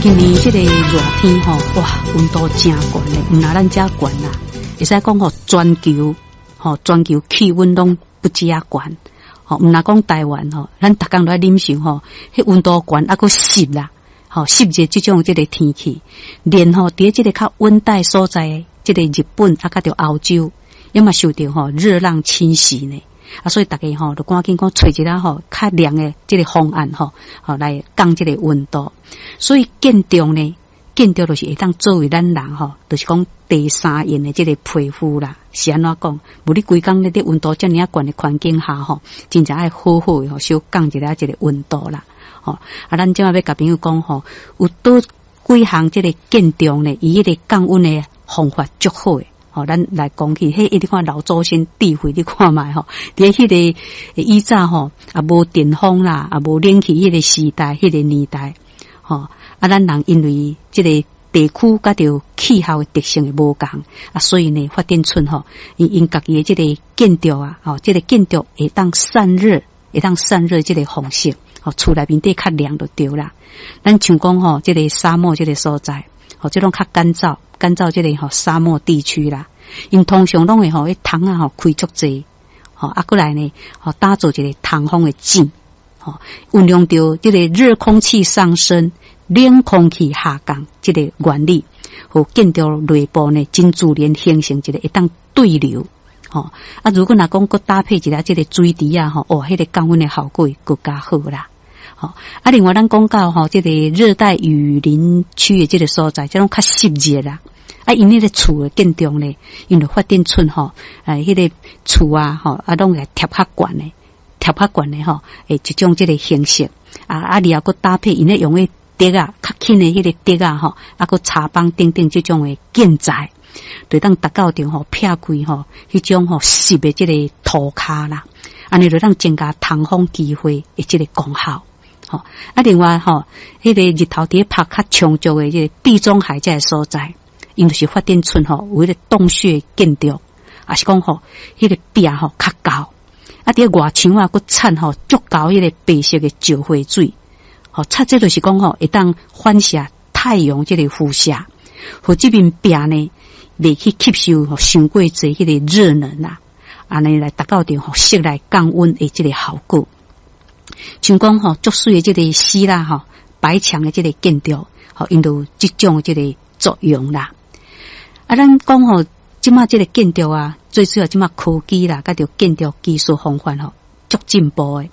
今年這個熱天吼，哇，溫度誠懸咧，毋若咱遮懸啦，會使講吼，全球吼，全球氣溫攏不止遐懸，吼，毋若講台灣吼，咱逐工都愛忍受吼，彼溫度懸猶閣濕啦，吼，濕熱這種這個天氣，連吼佇這個較溫帶所在，這個日本啊，佮著歐洲，也嘛受著吼熱浪侵襲呢。啊，所以逐家吼，就趕緊講揣一下吼較涼的這個方案吼，吼來降這個溫度。所以建築呢，建築就是會當作為咱人吼，就是講第三用的這個皮膚啦，是按怎講？無你規工咧佇溫度遮爾仔懸的環境下吼，真正愛好好的吼，小降一下這個溫度啦。吼，啊，咱這馬欲共朋友講吼，有佗幾項這個建築呢，伊彼個降溫的方法足好的。吼，咱來講起，彼你看老祖先智慧，你看覓吼？佇彼個以早吼，也無電風啦，也無冷氣，彼個時代，彼個年代，吼啊，咱人因為這個地區佮著氣候的特性的無仝啊，所以呢，發展出吼，𪜶家己的這個建築啊，吼，這個建築會當散熱，會當散熱這個方式，吼，厝內面底較涼就對啦。咱像講吼，這個沙漠這個所在，吼，這種較乾燥。乾燥這個吼沙漠地區啦，𪜶通常攏會吼，彼窗仔吼開足濟，吼啊閣來呢，吼打造一個通風的井，吼運用著這個熱空氣上升、冷空氣下降這個原理，予建築內部呢真自然形成一個會當對流，吼啊如果若講閣搭配一下這個水池啊，吼哦，彼個降溫的效果會閣較好啦。吼啊，另外咱講到吼，這個熱帶雨林區的這個所在，這種較濕熱啦。啊，𪜶彼個厝的建築呢，𪜶就發展出吼，哎，彼個厝啊，吼啊，攏會貼較懸的，貼較懸的吼，會一種這個形式。啊啊，然後閣搭配𪜶咧用彼竹仔，較輕的彼個竹仔吼，啊，閣柴枋等等這種的建材，就會當達到著吼，避開吼，彼種吼濕的這個塗跤啦。按呢就當增加通風機會的這個功效。吼啊，另外吼，彼個日頭佇咧曬較充足的這個地中海這個所在，𪜶就是發展出吼有彼個洞穴建築，抑是講吼彼個壁吼較厚，啊，佇咧外牆啊，閣摻吼足厚彼個白色的石灰水，吼，擦這就是講吼會當反射太陽這個輻射，予這面壁呢袂去吸收吼傷過濟彼個熱能啦，按呢來達到著吼室內降溫的這個效果。像講吼，足媠的這個希臘吼白牆的這個建築，吼，𪜶就有這種這個作用啦。啊，咱講吼，這馬這個建築啊，最主要這馬科技啦，佮著建築技術方法吼，足進步的。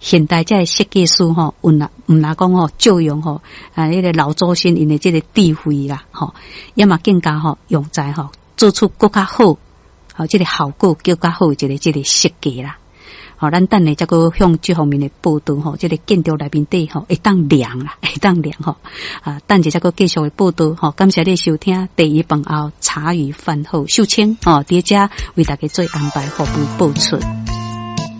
現代這個設計師吼，毋若毋若講吼，借用吼啊，彼個老祖先𪜶的這個智慧啦，吼，也嘛更加吼用在吼做出閣較好，吼這個效果閣較好一個這個設計啦。吼，咱等下才閣向這方面的報導吼，這個建築內面底吼會當涼啦，會當涼吼。啊，等下才閣繼續的報導吼，感謝你收聽茶餘飯後茶餘飯後秀清吼，佇遮為大家做安排服務播出。